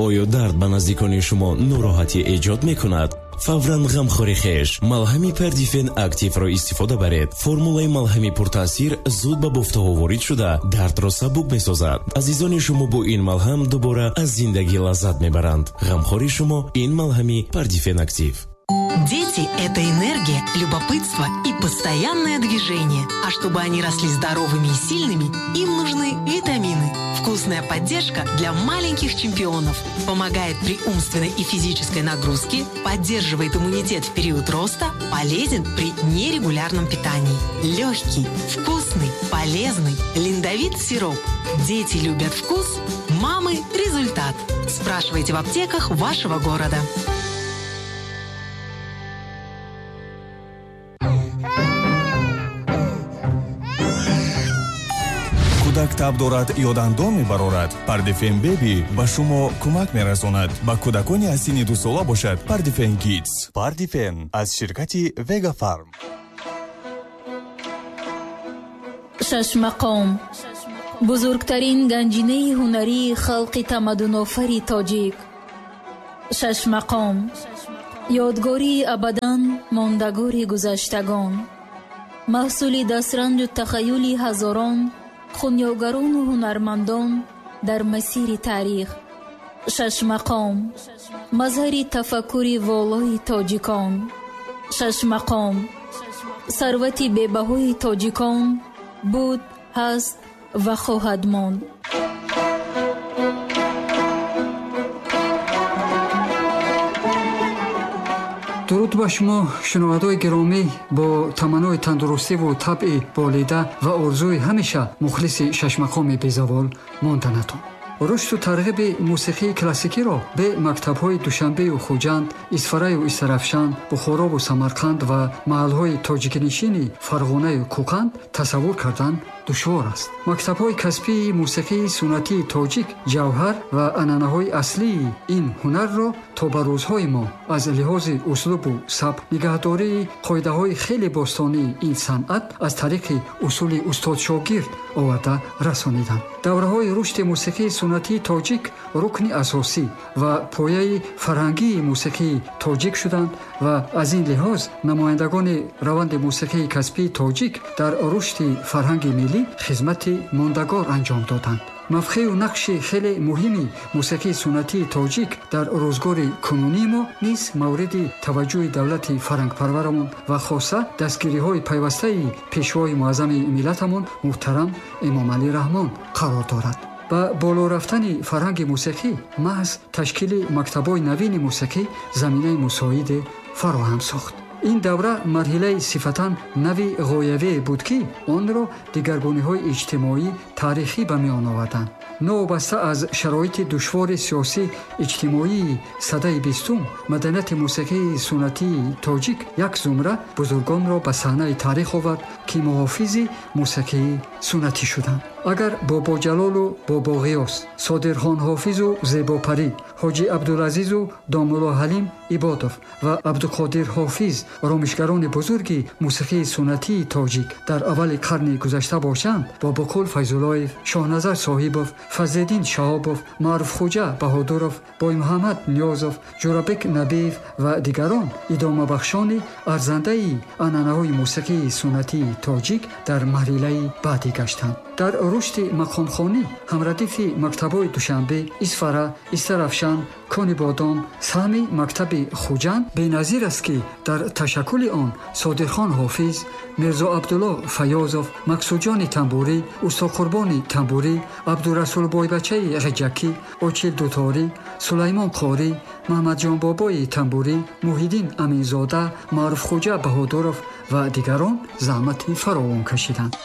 Оё дард ба наздикони шумо нороҳатӣ эҷод мекунад? Фавран ғамхори хеш малҳами Пардифен Активро истифода баред. Формулаи малҳами пуртаъсир зуд ба бофтаҳо ворид шуда, дардро сабук месозад. Азизони шумо бо ин малҳам дубора аз зиндагӣ лаззат мебаранд. Ғамхори шумо ин малҳами Пардифен Актив. Дети – это энергия, любопытство и постоянное движение. А чтобы они росли здоровыми и сильными, им нужны витамины. Вкусная поддержка для маленьких чемпионов. Помогает при умственной и физической нагрузке, поддерживает иммунитет в период роста, полезен при нерегулярном питании. Легкий, вкусный, полезный Линдовит сироп. Дети любят вкус, мамы – результат. Спрашивайте в аптеках вашего города. Кӯдак таб дорад ё дандон мебарорад, Пардифен Беби ба шумо кӯмак мерасонад. Ба кӯдакони аз синни 2 сола бошад Пардифен Кидс. Пардифен аз ширкати Вегафарм. Шашмақом, бузургтарин ганҷинаи ҳунарии халқи тамаддунофари тоҷик. Шашмақом, ёдгории абадан мондагори гузаштагон, маҳсули дастранҷу тахаюли ҳазорон хунёгарону ҳунармандон дар масири таърих. Шашмақом, мазҳари тафаккури волои тоҷикон. Шашмақом, сарвати бебаҳои тоҷикон буд, ҳаст ва хоҳад монд. Дуруд ба шумо, шунавандои гиромӣ. Бо таманнои тандурустиву табъи болида ва орзуи ҳамеша мухлиси шашмақоми безавол монданатон. Рушду тарғиби мусиқии классикиро бе мактабҳои Душанбею Хуҷанд, Исфараю Истарафшан, Бухорову Самарқанд ва маҳалҳои тоҷикнишини Фарғонаю Кӯқанд тасаввур кардан душвор аст. Мактабҳои касбии мусиқии суннатии тоҷик ҷавҳар ва анъанаҳои аслии ин ҳунарро то ба рӯзҳои мо аз лиҳози услубу сабк нигаҳдории қоидаҳои хеле бостонии ин санъат аз тариқи усули устодшогирд оварда расониданд. Давраҳои рушди мусиқии суннатии тоҷик рукни асосӣ ва пояи фарҳангии мусиқии тоҷик шуданд ва аз ин лиҳоз намояндагони раванди мусиқии касбии тоҷик дар рушди фарҳанги миллӣ хизмати мондагор анҷом доданд. Мавқею нақши хеле муҳими мусиқии суннатии тоҷик дар рӯзгори кунунии мо низ мавриди таваҷҷӯҳи давлати фарҳангпарварамон ва хоса дастгириҳои пайвастаи пешвои муаззами миллатамон муҳтарам Эмомалӣ Раҳмон қарор дорад. Ба боло рафтани фарҳанги мусиқӣ маҳз ташкили мактабҳои навини мусиқӣ заминаи мусоиде фароҳам сохт. Ин давра марҳилаи сифатан нави ғоявие буд, ки онро дигаргуниҳои иҷтимоӣ таърихӣ ба миён оварданд. Новобаста аз шароити душвори сиёсӣ иҷтимоии садаи бистум, маданияти мусиқии суннатии тоҷик як зумра бузургонро ба саҳнаи таърих овард, ки муҳофизи мусиқии суннатӣ шуданд. Агар Бобоҷалолу Бобоғиёс, Содирхон Ҳофизу Зебопарӣ, Ҳоҷи Абдулазизу Домулло Ҳалим Ибодов ва Абдуқодир Ҳофиз ромишгарони бузурги мусиқии суннатии тоҷик дар аввали қарни гузашта бошанд, Бобоқул Файзуллоев, Шоҳназар Соҳибов, Фазлиддин Шаҳобов, Маъруфхуҷа Баҳодуров, Боймуҳаммад Ниёзов, Ҷӯрабек Набиев ва дигарон идомабахшони арзандаи анъанаҳои мусиқии суннатии тоҷик дар марҳилаи баъдӣ гаштанд. Дар рушди мақомхонӣ ҳамрадифи мактабҳои Душанбе, Исфара, Истарафшан, Конибодом саҳми мактаби Хуҷанд беназир аст, ки дар ташаккули он Содирхон Ҳофиз, Мирзо Абдулло Фаёзов, Мақсудҷони Тамбурӣ, Устоқурбони Тамбурӣ, Абдурасул Бойбачаи Ғиҷакӣ, Очил Дуторӣ, Сулаймон Қорӣ, Маҳмадҷонбобои Тамбурӣ, Муҳиддин Аминзода, Маъруфхуҷа Баҳодуров ва дигарон заҳмати фаровон кашиданд.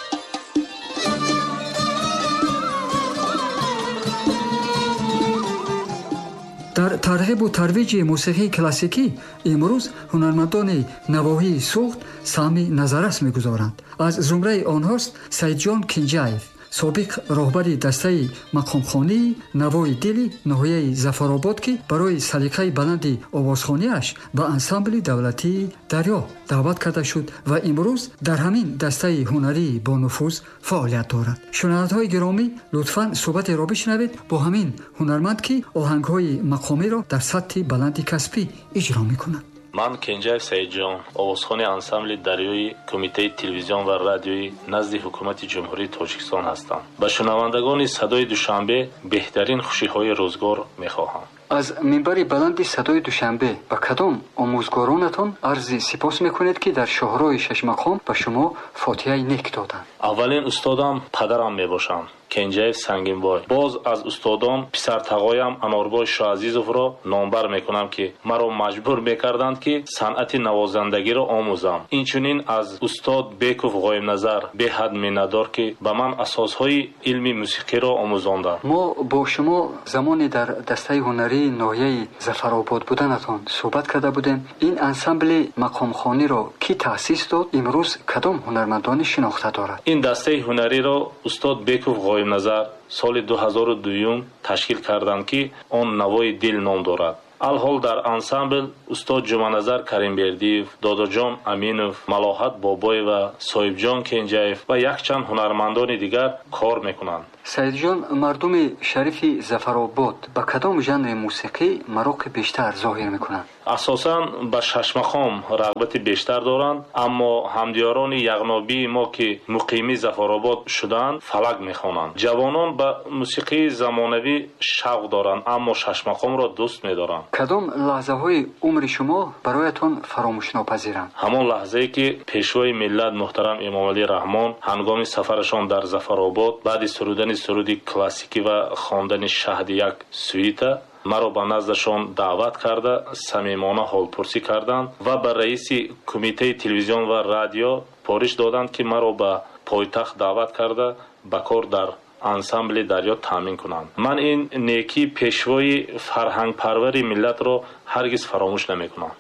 Дар тарғибу тарвиҷи мусиқии классикӣ имрӯз ҳунармандони навоҳии Суғд саҳми назаррас мегузоранд. Аз зумраи онҳост Саидҷон Кинҷаев, Собиқ роҳбари дастаи мақомхонии Навои дили ноҳияи Зафаробод, ки барои салиқаи баланди овозхониаш ба ансамбли давлатии Дарё даъват карда шуд ва имрӯз дар ҳамин дастаи ҳунарии бонуфуз фаъолият дорад. Шунавандаҳои гиромӣ, лутфан суҳбатеро бишнавед бо ҳамин ҳунарманд, ки оҳангҳои мақомиро дар сатҳи баланди касбӣ иҷро мекунад. Ман Кенҷаев Саидҷон, овозхони ансамбли Дарёи Кумитаи телевизион ва радиои назди Ҳукумати Ҷумҳурии Тоҷикистон ҳастам. Ба шунавандагони Садои Душанбе беҳтарин хушиҳои рӯзгор мехоҳам. Аз минбари баланди Садои Душанбе ба кадом омӯзгоронатон арзи сипос мекунед, ки дар шоҳроҳи шашмақом ба шумо фотиҳаи нек доданд? Аввалин устодам падарам мебошанд, Кенҷаев Сангинбой. Боз аз устодон писартағоям Анорбой Шоазизовро номбар мекунам, ки маро маҷбур мекарданд, ки санъати навозандагиро омӯзам. Инчунин аз устод Беков Ғоибназар беҳад миннатдор, ки ба ман асосҳои илми мусиқиро омӯзонданд. Мо бо шумо замоне дар дастаи ҳунарии ноҳияи Зафаробод буданатон суҳбат карда будем. Ин ансамбли мақомхониро кӣ таъсис дод? Имрӯз кадом ҳунармандони шинохта дорад? Ин дастаи ҳунариро устод Беков Ғоибназар соли 2002 ташкил карданд, ки он Навои дил ном дорад. Алҳол дар ансамбл устод Ҷуманазар Каримбердиев, Додоҷон Аминов, Малоҳат Бобоева, Соҳибҷон Кенҷаев ва якчанд ҳунармандони дигар кор мекунанд. Саидҷон, мардуми шарифи Зафаробод ба кадом жанри мусиқӣ мароқи бештар зоҳир мекунанд? Асосан ба шашмақом рағбати бештар доранд, аммо ҳамдиёрони яғнобии мо, ки муқими Зафаробод шудаанд, фалак мехонанд. Ҷавонон ба мусиқии замонавӣ шавқ доранд, аммо шашмақомро дӯст медоранд. Кадом лаҳзаҳои умри шумо бароятон фаромӯшнопазиранд? Ҳамон лаҳзае, ки Пешвои миллат муҳтарам Эмомалӣ Раҳмон ҳангоми сафарашон дар Зафаробод баъди сурудани суруди классикӣ ва хондани шаҳди як сюита маро ба наздашон даъват карда, самимона ҳолпурсӣ карданд ва ба раиси Кумитаи телевизион ва радио пориш доданд, ки маро ба пойтахт даъват карда, ба кор дар ансамбли Дарё таъмин кунанд. Ман ин некии пешвои фарҳангпарвари миллатро ҳаргиз фаромӯш намекунам.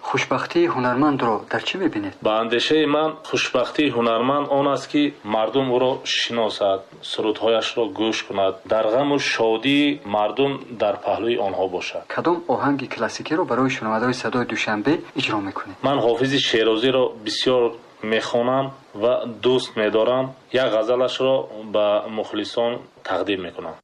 Хушбахтии ҳунармандро дар чӣ мебинед? Ба андешаи ман, хушбахтии ҳунарманд он аст, ки мардум ӯро шиносад, сурудҳояшро гӯш кунад, дар ғаму шодии мардум дар паҳлӯи онҳо бошад. Кадом оҳанги классикиро барои шунавандаҳои Садои Душанбе иҷро мекунед? Ман Ҳофизи Шерозиро бисёр мехонам ва дӯст медорам. Як ғазалашро ба мухлисон тақдим мекунам.